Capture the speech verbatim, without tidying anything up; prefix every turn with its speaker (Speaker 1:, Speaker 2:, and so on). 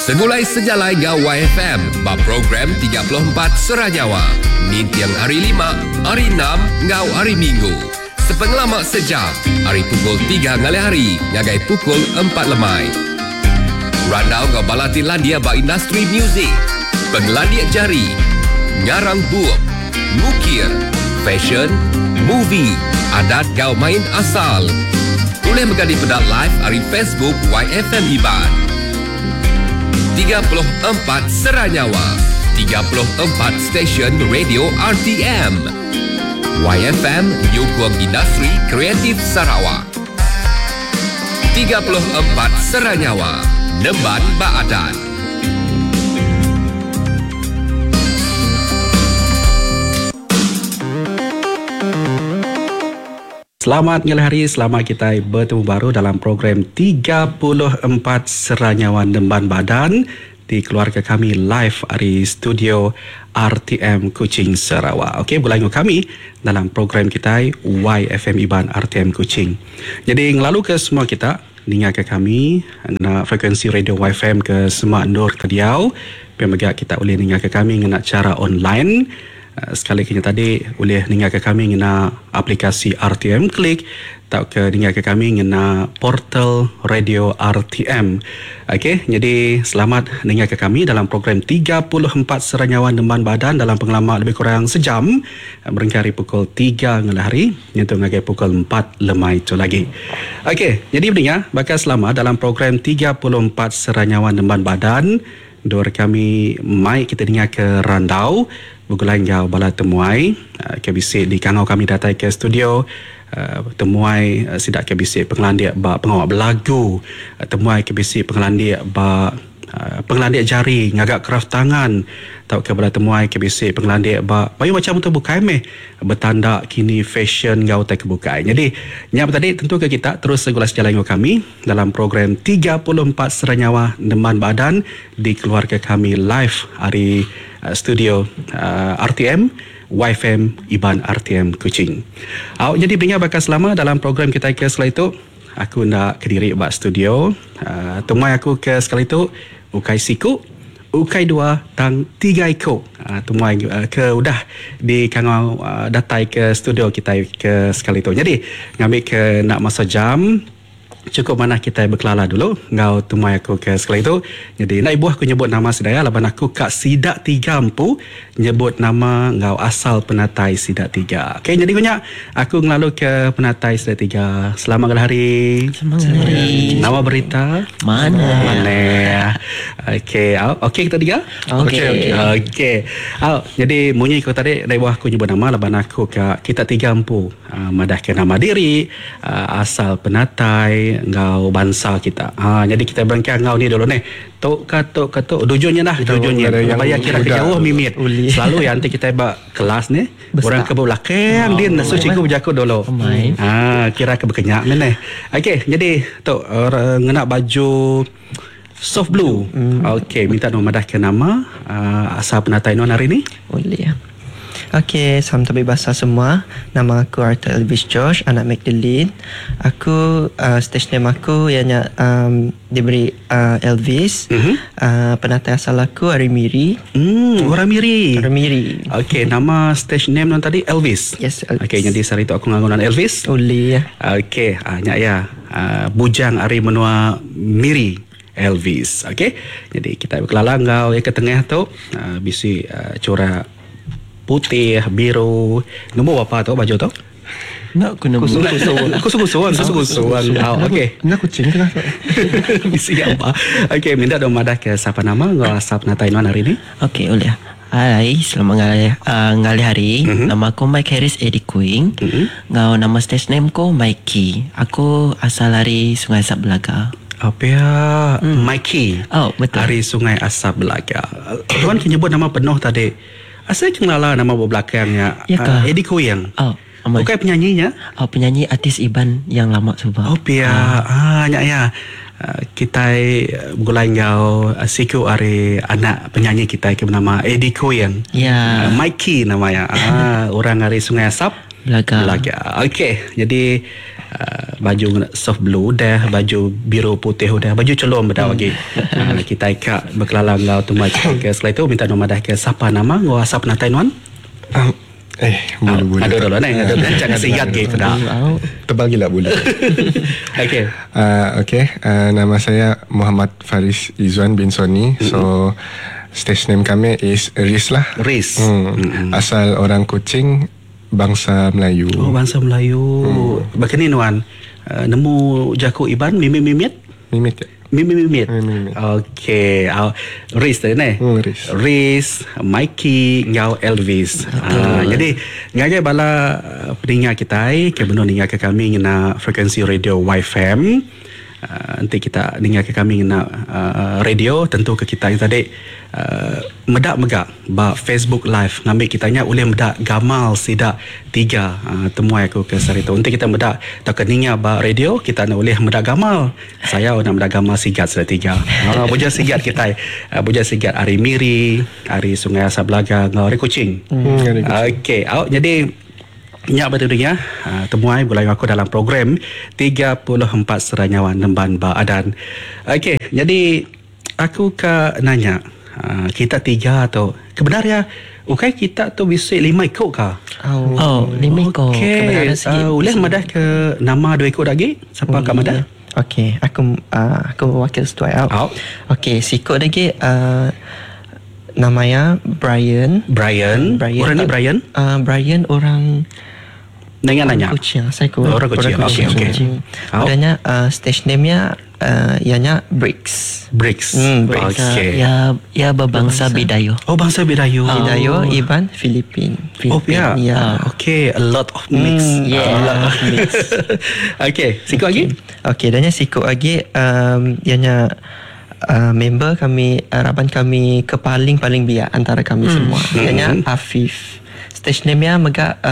Speaker 1: Segulai sejalai ngau Y F M ba program tiga puluh empat Sera Nyawa. Ninting hari lima, hari enam ngau hari Minggu. Sepengelama sejam, hari pukul tiga ngalih hari ngagai pukul empat lemai. Randau ngau bala ti landia ba industri muzik, pengelandik jari, ngarang bup, ngukir, fashion, movie, adat ngau main asal. Boleh mega dipeda live ari Facebook Y F M Iban. tiga puluh empat Sera Nyawa, tiga puluh empat stesen radio R T M. Y F M nyukung industri kreatif Sarawak. tiga puluh empat Sera Nyawa, Nemban Baadan.
Speaker 2: Selamat ngalih hari, selamat kita bertemu baru dalam program tiga puluh empat Sera Nyawa Nemban Badan di keluarga kami live dari studio R T M Kuching Sarawak. Okey, berlalu kami dalam program kita Y F M Iban R T M Kuching. Jadi ngelalu ke semua kita ninga ke kami ngena frekuensi radio Y F M ke semua endur ke diau. Pemega kita boleh ninga ke kami ngena cara online. Sekali kini tadi boleh ninga ke kami ngena aplikasi R T M Klik atau ke ninga ke kami ngena portal radio R T M. Okey, jadi selamat ninga ke kami dalam program tiga puluh empat Sera Nyawa Nemban Badan dalam pengalaman lebih kurang sejam berengkari pukul tiga ngalih hari nyentuh ngagai pukul empat lemai itu lagi. Okey, jadi pendengar bakal selamat dalam program tiga puluh empat Sera Nyawa Nemban Badan. Dua kami mai kita dengar ke Randau bergulai ngau bala temuai K B C di kangau kami datai ke studio temuai sidak K B C pengelandik ba pengawak belagu temuai K B C pengelandik ba pengelandik jari ngagak kraft tangan tau ke bala temuai K B C pengelandik ba bayu macam tu bukai meh bertanda kini fashion ngau tai kebukai. Jadi nyap tadi tentu ke kita terus segula sejalan ngau kami dalam program tiga puluh empat Sera Nyawa Nemban Badan di keluarga kami live hari uh, studio uh, R T M Y F M Iban R T M Kuching. Au jadi binga bakal selama dalam program kita ke sekali itu aku nak kediri bak studio uh, temui aku ke sekali itu ukai siku ukai dua tang tiga iko uh, temui uh, ke udah di kangau uh, datai ke studio kita ke sekali tu. Jadi ngambil ke nak masa jam cukup mana kita berkelala dulu ngau temui aku ke sekali tu. Jadi nak ibu aku nyebut nama sedaya laban aku kak sidak tiga empu nyebut nama ngau asal penatai sidak tiga. Okey, jadi punya aku ngelalu ke penatai sidak tiga. Selamat ngalih hari.
Speaker 3: Selamat ngalih hari.
Speaker 2: Nama berita?
Speaker 3: Mana?
Speaker 2: Mana? Okey, okey kita tiga?
Speaker 3: Okey.
Speaker 2: Okey. Okey. Au, jadi munyi aku tadi nak ibu aku nyebut nama laban aku kak kita tiga empu uh, madah ke nama diri, uh, asal penatai ngau bangsa kita. Ha, jadi kita berangkat ngau ni dulu ni. Tok katok katok dujunnya dah, dujunnya. Bayar kira ke jauh mimit. Selalu yang nanti kita bak kelas ni, besar. Orang ke belakang oh, dia nasu cikgu berjakut dulu. Ha, kira ke berkenyak ni. Okey, jadi tok uh, ngena baju soft blue. Hmm. Okey, minta nama madah ke nama uh, asal penatai non hari ni.
Speaker 3: Boleh ya. Okey, salam tabi basah semua. Nama aku Arthur Elvis George, anak Magdalene. Aku, uh, stage name aku ianya um, diberi uh, Elvis.
Speaker 2: Mm-hmm.
Speaker 3: Uh, penatai asal aku ari Miri.
Speaker 2: Hmm, orang Miri.
Speaker 3: Orang Miri.
Speaker 2: Okey, nama stage name non tadi Elvis.
Speaker 3: Yes, Elvis.
Speaker 2: Okey, jadi sehari tu aku ngangunan Elvis.
Speaker 3: Boleh ya.
Speaker 2: Okey, ah nyak ya. Uh, bujang ari menua Miri. Elvis. Okey. Jadi kita berkelala ngau yang ke tengah tu uh, bisi uh, corak putih, biru. Nombor apa tu baju tu?
Speaker 4: Nak aku nombor.
Speaker 2: Kusu-kusuan, kusu-kusuan. Okey.
Speaker 4: Nak kucing ke lah.
Speaker 2: Bisi apa? Okey, minta dong madah ke siapa nama ngau asap natai non hari ni?
Speaker 3: Okey, boleh. Hai, selamat ngalih, uh, ngalih hari.
Speaker 2: Mm-hmm.
Speaker 3: Nama aku Mike Harris Eddie Queen.
Speaker 2: Mm-hmm.
Speaker 3: Ngau nama stage name ko Mikey. Aku asal dari Sungai Asap Belaga.
Speaker 2: Apa ya? Mm. Mikey.
Speaker 3: Oh, betul.
Speaker 2: Dari Sungai Asap Belaga. Tuan kena nyebut nama penuh tadi. Asal kenal nama belakangnya.
Speaker 3: Ya
Speaker 2: uh, Eddie Koyang.
Speaker 3: Oh, amai.
Speaker 2: Bukan penyanyinya?
Speaker 3: Oh, penyanyi artis Iban yang lama sebab.
Speaker 2: Oh, pia. Ah, ah nyak ya. Uh, kita bergulai ngau uh, siku ari anak penyanyi kita yang bernama Eddie Koyang.
Speaker 3: Ya.
Speaker 2: Uh, Mikey namanya. Ah, orang ari Sungai Asap
Speaker 3: Belaga.
Speaker 2: Belaga. Okey, jadi Uh, baju soft blue udah, baju biru putih udah, baju celum bedau lagi. Uh, kita ka berkelala ngau temuai ke setelah itu minta nama dah ke siapa nama ngau asap penatai nuan?
Speaker 4: Um, eh, bulu bulu.
Speaker 2: Aduh dulu ni, aduh jangan sigat ge peda.
Speaker 4: Tebal gila bulu.
Speaker 2: Okey.
Speaker 4: Uh, okay, uh, nama saya Muhammad Faris Izwan bin Soni. Mm-hmm. So stage name kami is Riz lah.
Speaker 2: Riz.
Speaker 4: Hmm. Mm-hmm. Asal orang Kuching, bangsa Melayu.
Speaker 2: Oh, bangsa Melayu. Hmm. Begini nuan, uh, nemu jaku Iban mimit mimit?
Speaker 4: Mimit ya.
Speaker 2: Mimit mimit.
Speaker 4: Mimit.
Speaker 2: Okey, uh, Riz tadi ni.
Speaker 4: Hmm, Riz.
Speaker 2: Riz, Mikey, ngau Elvis. Uh, jadi ngagai bala pendengar kita ke benar ninga ke kami ngena frekuensi radio Y F M. Uh, nanti kita dengar ke kami ngena uh, radio tentu ke kita yang tadi uh, medak megak ba Facebook live ngambil kitanya oleh medak gamal sidak tiga uh, temuai aku ke sarito. Nanti kita medak atau ke ninga ba radio kita nak oleh medak gamal. Saya nak medak gamal sigat sudah tiga. Uh, buja sigat kita uh, buja sigat ari Miri, ari Sungai Asap Belaga, ngau ari Kuching.
Speaker 4: Hmm, ari Kuching.
Speaker 2: Okey, au jadi nyak betul ya. Uh, temuai gulai aku dalam program tiga puluh empat Seranyawan Nemban Ba Adan. Okey, jadi aku ke nanya uh, kita tiga tu kebenar ya ukai kita tu bisa lima ikut ka?
Speaker 3: Oh,
Speaker 5: oh lima ikut.
Speaker 2: Okey, uh, boleh madah ke nama dua ikut lagi? Siapa ka madah?
Speaker 3: Okey, aku uh, aku wakil setuai out.
Speaker 2: Out.
Speaker 3: Okey, sikut lagi uh, namanya Brian.
Speaker 2: Brian.
Speaker 3: Brian.
Speaker 2: Orang ni Brian?
Speaker 3: Uh, Brian orang
Speaker 2: Nanya nanya.
Speaker 3: Kuching, saya ku.
Speaker 2: Orang Kuching. Okey okey.
Speaker 3: Adanya uh, stage name-nya uh, ianya Bricks.
Speaker 2: Bricks.
Speaker 3: Hmm, Bricks.
Speaker 2: Okey.
Speaker 5: Ya ya berbangsa Bidayo.
Speaker 2: Oh, bangsa Bidayo.
Speaker 3: Oh. Bidayo, Iban, Filipin.
Speaker 2: Oh, ya.
Speaker 3: Yeah.
Speaker 2: Okey, a lot of mix.
Speaker 3: Mm, yeah.
Speaker 2: A lot of mix. Okey, sikut lagi?
Speaker 3: Okey, danya sikut lagi um, ianya uh, member kami, uh, raban kami ke paling-paling biak antara kami hmm. semua. Ianya hmm. Afif. Stage name-nya megak uh,